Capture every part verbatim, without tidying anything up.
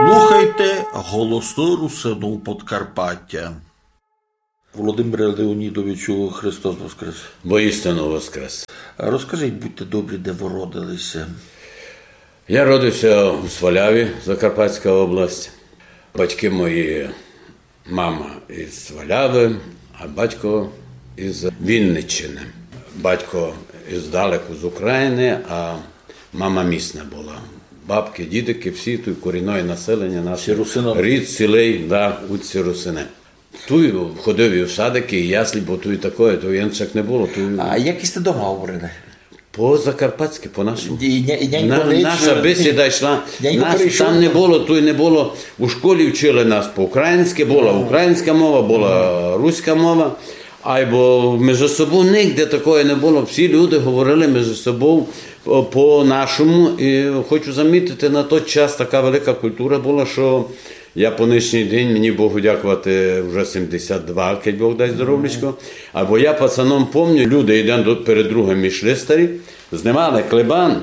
Слухайте Голосы Русинув Подкарпатя. Володимире Леонідовичу, Христос воскрес! Воістину воскрес! Розкажіть, будьте добрі, де вы родили ся? Я родив ся у Сваляві, Закарпатська область. Батьки мої, мама із Свалявы, а батько із Вінниччины. Батько іздалеку з Україны, а мама місна была. Бабкы, дідикы, всі туй корінне населеня наше. Всі русины. Рід цілый, да, у всі русины. Туй ходив і в садикы, і яслі, бо туй такоє, туй іншак не было. Туй... А як сьте дома говорили? По-закарпатськы, по-нашому. І ня-, і нянько... На-, наша бесіда йшла. Нянько... Нас перейшов. Там не было, туй не было. У школі вчили нас по-українськы, была українська мова, была руська мова. Айбо межи собов нигде такоє не было. Всі люди говорили межи собов по-, по-нашому. І хочу замітити, на тот час така велика культура была, што я по нынішній день, мені Богу дякувати, вже сімдесят два, кидь Бог дасть здоровлячко. Айбо я пацаном помню, люди єден до-, перед другым йшли старі, знимали клебан,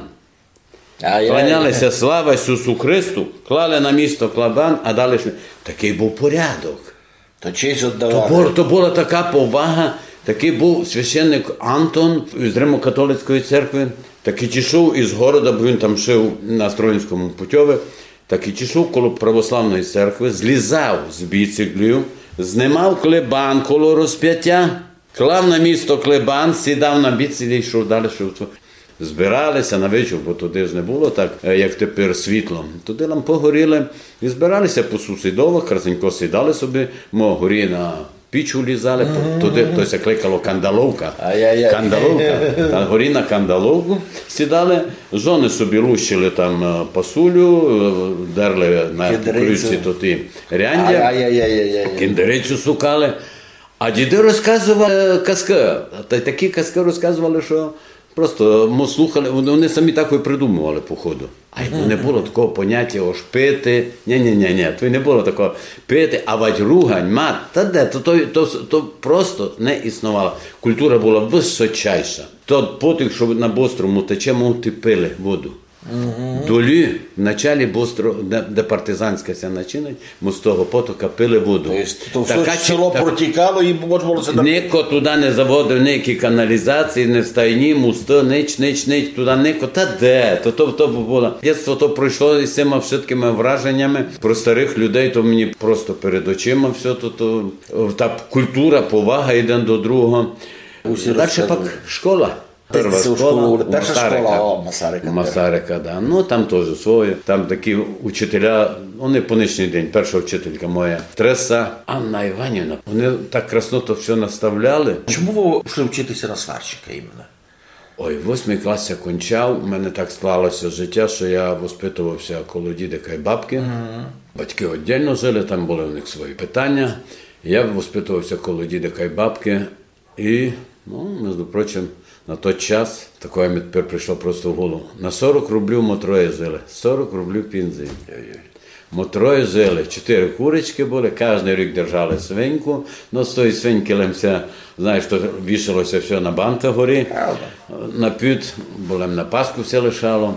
кланяли ся: «Слава Ісусу Христу», клали на місто клебан, а далі йшли. Такый быв порядок. То честь оддавали. То бу-, то была така повага, такый быв священник Антон з Римокатолицької церкви, так і дійшов із города, бо він там жив на Струнинському путьови, так і дійшов коло православної церкви, злізав з біциклів, знимав клебан коло розпятя, клав на місто клебан, сідав на біциклі і йшов далі, йшов. Збирали ся на вечір, бо туды ж не было так, е, як тепер, світло. Туды лампы горіли, і збирали ся по сусідовах, красненько сідали собі, мо горі на піч улізали, то-, туды, то ся кликало кандаловка. Ай-яй-яй. Кандаловка. Та горі на кандаловку сідали, жоны собі лущили там, е, пасулю, е, дерли на кукурудзі тоті ряндя, кіндерицю сукали. А діды розказовали, е, казкы. Та й такі казкы розказовали, што просто мы слухали, вони, вони самі так і придумовали, походу. Ай, бо не было такого понятя, ож пити. Ні, ні, ні, ні, то не было такого пити, а вадь ругань, мат, та де, то, то, то, то просто не існовало. Культура была высочайша. Тот потік, што на Бострому тече, мы туй пили воду. Долі, в началі Бостро-, де, де партизанська ся начинать, мы з того потока пили воду. То єсть, то всьо село протікало і можна было ся... Нико туды не заводив ніякі каналізації, не стайні, мосты, нич, нич, нич, туды нико. Та де? То, то, то было. Дєтство то пройшло із сима вшыткыма враженями. Про старых людей то мені просто перед очима всьо то, то, та культура, повага єден до другого. Дальше пак школа. Перша школа, перша школа, о, Масарика. Масарика, да. Ну, там тоже своє. Там такі учителя, вони по нынішній день, перша вчителька моя, Треса Анна Іванівна, вони так красно то всьо наставляли. Чому вы пішли вчити ся на сварщика іменно? Ой, восьмый клас я кончав, у мене так склало ся життя, што я воспитовав ся коло дідика й бабкы. Батькы оддільно жили, там были у них свої питаня. Я воспитовав ся коло дідика й бабкы. І, ну, между прочим, на тот час такоє ми тепер прийшло просто в голову. На сорок рублів мы троє жили. Сорок рублів пензії. Ой-ой. Мы троє жили. Чотири курочкы были, каждый рік держали свиньку. Ну, з тої свинькы лем ся, знаєш, то вішало ся всьо на банках горі. Правда. На під, бо лем на Пасху ся лишало.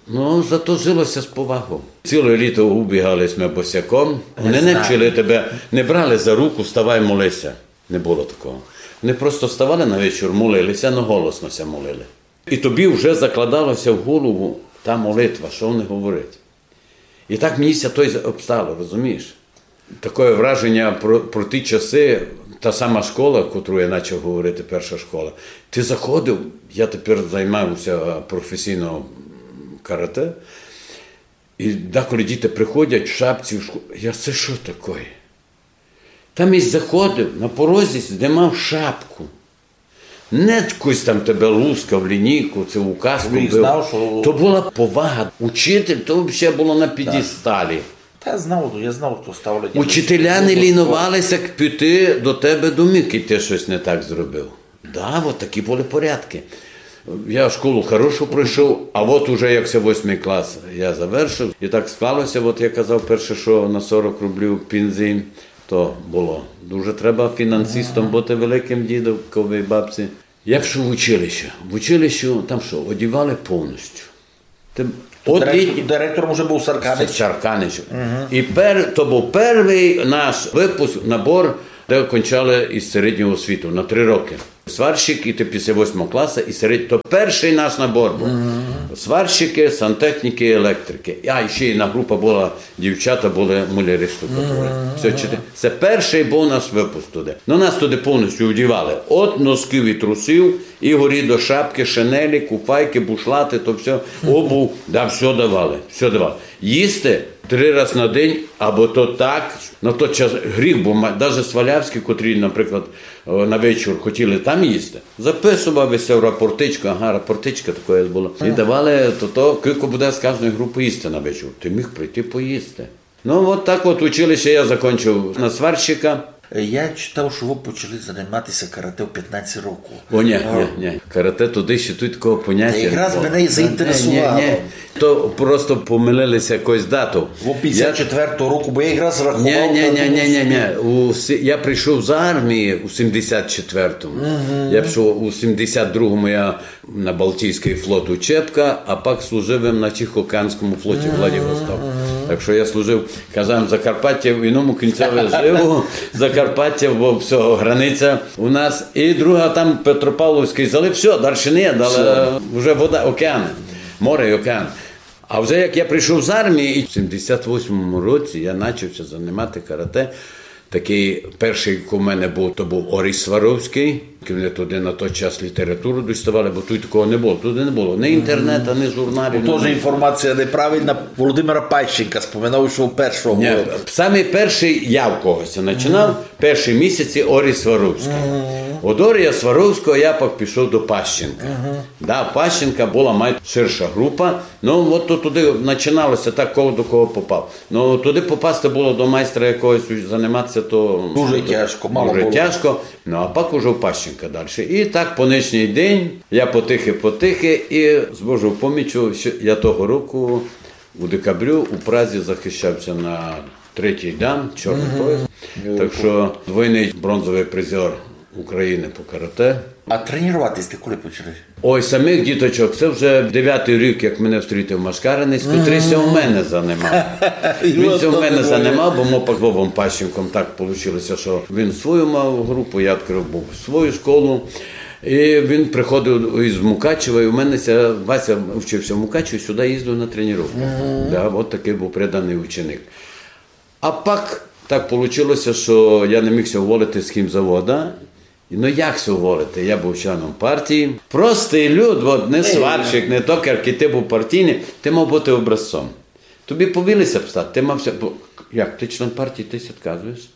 Ну, зато жило ся з повагов. Ціле літо убігали сьме босяком. Вони не вчили тебе, не брали за руку: «Вставай, моли ся». Не было такого. Вони просто вставали на вечір, молили ся, но голосно ся молили. І тобі вже закладало ся в голову та молитва, што вони говорять. І так мені ся то й обстало, розумієш? Такоє враженя про, про ті часы, та сама школа, котру я начав говорити, перша школа. Ты заходив, я тепер займаю ся професійно карате, і деколи діти приходять в шапці в школу. Я: «Се што такоє?» Там єсь заходив, на порозі здимав шапку. Не хтось там тебе лускав, лінійку, ци указку бив. Знав, што... То была повага. Учитель, то вообще было на пєдесталі. Та я знав, я знав, хто ставлять. Учителя не лінували ся піти до тебе домів, кидь ты штось не так зробив. Да, от такі были порядкы. Я школу хорошу пройшов, а от уже як ся восьмый клас я завершив. І так склало ся, от я казав перше, што на сорок рублів пензії, то было дуже треба фінансистом быти великым, дідиковій, бабці. Я пішов в училище. В училищі там што, одівали повністю. Ты, От Директор-, літній директором уже быв Сарканич. Сарканич. Мгм. І пер-, то быв первый наш выпуск, набор, де кончали із середнього освіту на три рокы. Сварщик і ти після восьмого класа, і серед-, то першый наш набор быв. Мгм. Сварщикы, сантехнікы, електрикы. А, і ще єдна група была, дівчата были, муляри, штукатури. Мгм. Всьо, чотири. Се першый быв наш выпуск туды. Но нас туды повністю вдівали. От носків і трусів, і горі до шапкы, шинелі, куфайкы, бушлаты, то всьо, обув, да, всьо давали, всьо давали. Їсти три раз на день, або то так, на тот час гріх, бо ма-, даже Свалявські, котрі, наприклад, е, на вечір хотіли там їсти, записував ся в рапортичку, ага, рапортичка така була, і давали то, то, кілько буде з кожної групы їсти на вечір. Ти міг прийти поїсти. Ну, от так от училище я закончив на сварщика. Я читав, што вы почали занимати ся карате у пятнадцять років. О, ні, ні, ні. Карате туды ще тут такого поняття не было. Та якраз мене і заінтересувало. Ні, ні, ні. То просто помилили ся якоюсь датов. Бо пятдесят четвертого року, бо я якраз рахував. Ні, ні, ні, ні, ні, ні. У сі-, я прийшов з армії у сімдесят четвертому. Мгм. Я пішов у сімдесят другому, я на Балтійськый флот учебка, а пак служив им на Тихоокеанському флоті Владивосток. Так што я служив, казав, Закарпаття в іному кінцеві жив, Закарпаття, бо всьо, границя у нас. І друга там Петропавловськый залив, всьо, дальше не є, але вже вода, океан, море і океан. А вже як я прийшов з армії, і в сімдесят восьмому році я начав ся занимати карате, такый першый, ко в мене быв, то быв Оріс Сваровськый. Мене туды на той час літературу діставали, бо тут такого не было. Туды не было ні інтернета, ні журналів, ні нічого. Тоже інформація неправильна. Володимира Пащенка споминав, што першого. Ні, самый першый я в когось начинав, перші місяці Оріс Сваровськый. Од Орія Сваровського я пак пішов до Пащенка. Да, Пащенка была май ширша група, Ну, от то туды начинало ся так, кого до кого попав. Ну, туды попасти было до майстра якогось, занимати ся, то дуже тяжко, мало было. Дуже тяжко. Ну, а пак уже в Пащенка дальше. І так по нынішній день я потихы-потихы, і з Божою поміччю, ще я того року у декабрю у Празі захищав ся на третій дан, чорный пояс. Так што двойный бронзовый призер Україны по карате. А тренірувати сьте коли почали? Ой, самых діточок, се вже девятый рік, як мене встрітив Машкаринець, котрый ся у мене занимав. Він ся у мене занимав, бо мы пак з Вовом Пащенком так получило ся, што він свою мав групу, я відкрыв быв свою школу. І він приходив із Мукачева, і у мене ся, Вася вчив ся в Мукачеві, сюды їздив на тренировкы. Да, от такый быв преданый ученик. А пак так получило ся, што я не міг ся уволити з хімзавода. Ну як ся уволити? Я быв членом партії. Простый люд, от, не сварщик, не токар, кідь ти быв партійный, ти мав быти образцом. Тобі повіли ся встати, ти мав ся, бо як, ти член партії, ти ся відказуєш?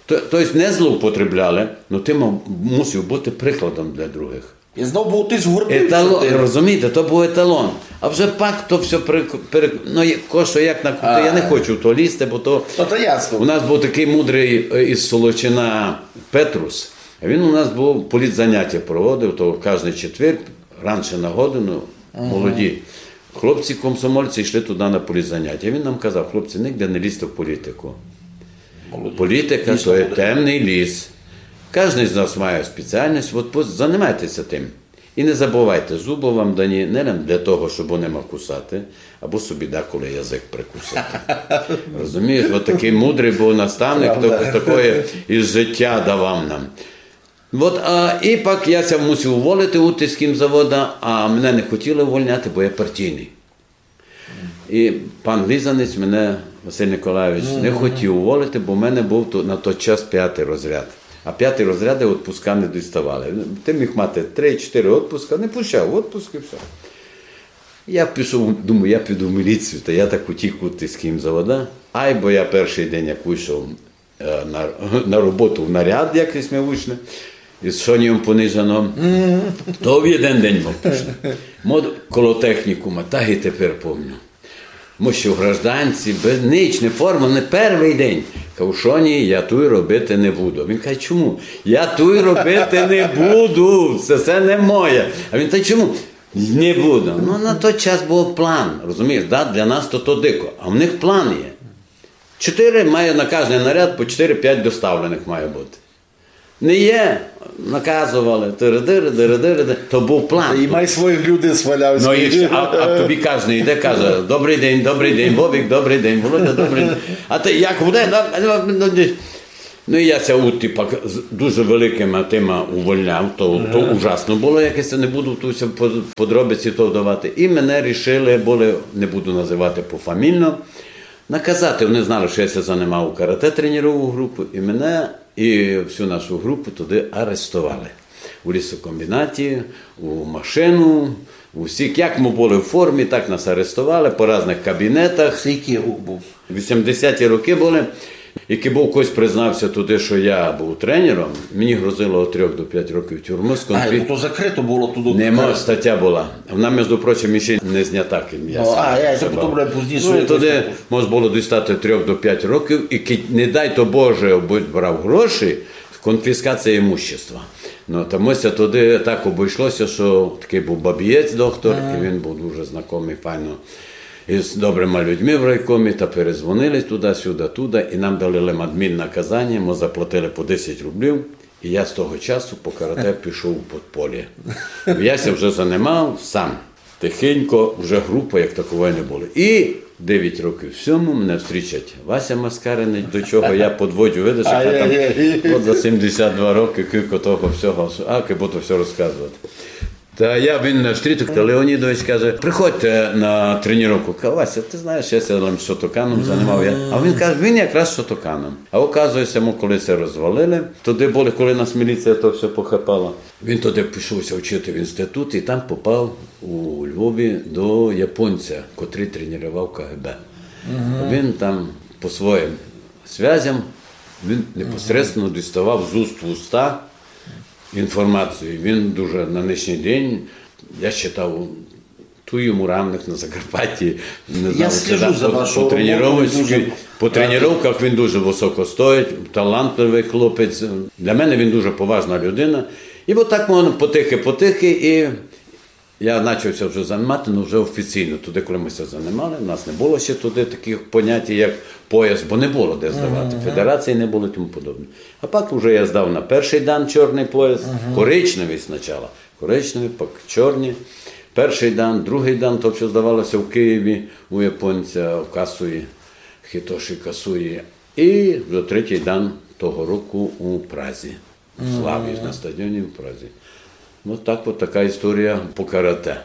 То, то єсть не злоупотребляли, но ти мав, мусив быти прикладом для другых. І знов быв тысь гордився. Еталон, розумієте, то быв еталон. А вже пак то всьо перек-, перек-, ну, є-, ко што як на-, то я не хочу в то лізти, бо то... Ну, то ясно. У нас быв такый мудрый, е, із Солочина Петрус. А він у нас быв політзаняття проводив, то каждый четвер, раньше на годину, молоді хлопці-комсомольці йшли туды на політзаняття. Він нам казав: «Хлопці, нигде не лізте в політику. Політика — то є темный ліс. Каждый з нас має спеціальность, от пос-, занимайте ся тым. І не забывайте, зубы вам дані не лем для того, щоб ними кусати, абы собі деколи язык прикусити». Розумієш, от такый мудрый быв наставник, хто з такоє із життя давав нам. От, а, і пак я ся мусив уволити у з хімзавода, а мене не хотіли увольняти, бо я партійный. І пан Лізанець мене, Василь Николайович, не хотів уволити, бо в мене быв то, на тот час пятый розряд. А пятый розряды отпуска не діставали. Ти міг мати три-чотири отпуска, не пущав, отпуск і всьо. Я пішов, думаю, я піду в міліцію, та я так утік з хімзавода. Айбо я першый день, як вышов, е, на, на роботу в наряд, як сьме вышли, із шоньом понижено, то в єден день мы пішли. Мод коло технікума, так і тепер помню. Мы ще в гражданці, без нич, не форма, не первый день. Кажу: «Шоні, я туй робити не буду». Він каже: «Чому?» «Я туй робити не буду, се, се не моє». А він: «Та чому?» «Не буду». Ну, на тот час быв план, розумієш, да? Для нас то, то дико, а в них план є. Чотири має на каждый наряд по чотири-пять доставленых має быти. Не є. Наказовали, тири-дири, дири-дири, то быв план. І май своїх людей сваляв. Ну, і всьо, а, а тобі кожен йде, каже: «Добрый день, добрый день, Вовик, добрый день, Володя, добрый день». А ти як буде? Ну, ну, ну, ну, і я ся у, типа, з дуже великыма тыма увольняв, то, то ужасно было, як я ся не буду, то всьо по-, подробиці то вдавати. І мене рішили были, не буду называти пофамільно, наказати. Они знали, што я ся занимав у карате, тренировав групу, і мене і всю нашу групу туды арестовали. У лісокомбінаті, у машину, у всіх, як мы были в формі, так нас арестовали по разных кабінетах. Це якый рік быв? Вісімдесяті рокы были. І кибы хтось признав ся туды, што я быв тренером, мені грозило від трьох до пять років тюрмы з... А, конфі-, ну то закрыто было туды. Нема, статя была. Вона, между прочим, іщи не знята, ким я... Ну, сам, а, я, це потім пізніше... Ну, і туды мож было дістати трьох до пять років, і кидь, не дай то Боже, будь брав гроші, конфіскація імущества. Ну, та мы ся туды так обійшло ся, што такый быв бабієць доктор, і він быв дуже знакомый, файно, із добрыма людьми в райкомі, та перезвонили туды-сюды, туды, і нам дали лем адміннаказаня, мы заплатили по десять рублів, і я з того часу по карате пішов у подполє. Я ся вже занимав сам. Тихенько, вже групы як такової не было. І девять років сьому мене встрічать Вася Маскаринич, до чого я подводжу, видиш, яка там... Ай-яй-яй. От за сімдесят два рокы, кілько того всього, а, як буду всьо розказовати. Та я, він мене встрітив, та Леонідович каже: «Приходьте на тренировку». Кажу: «Вася, ты знаєш, я ся лем шотоканом занимав». Я. А він каже, він якраз шотоканом. А оказує ся, мы коли ся розвалили, туды были, коли нас міліція то всьо похапала. Він туды пішов ся вчити в інститут і там попав у Львові до японця, котрый тренировав К Г Б. Він там по своїм связям, він непосредственно діставав з уст в уста інформацію. Він дуже на нынішній день, я читав, туй йому равных на Закарпатті, не знаю, слежу за вашою роботою, дуже радий. По тренировках він дуже высоко стоїть, талантливый хлопець. Для мене він дуже поважна людина. І от так воно потихы-потихы, і я начав ся вже занимати, ну, вже офіційно. Туды, коли мы ся занимали, у нас не было ще туды такых понятій, як пояс, бо не было де здавати. Федерації не было і тому подобне. А пак уже я здав на першый дан чорный пояс, коричневый спочатку, коричневый, пак чорні. Першый дан, другый дан, то всьо здавало ся в Києві у японця, в Касуї, Хітоші Касуї. І вже третій дан того року у Празі. Славі, на стадіоні в Празі. Ну, так от така історія по карате.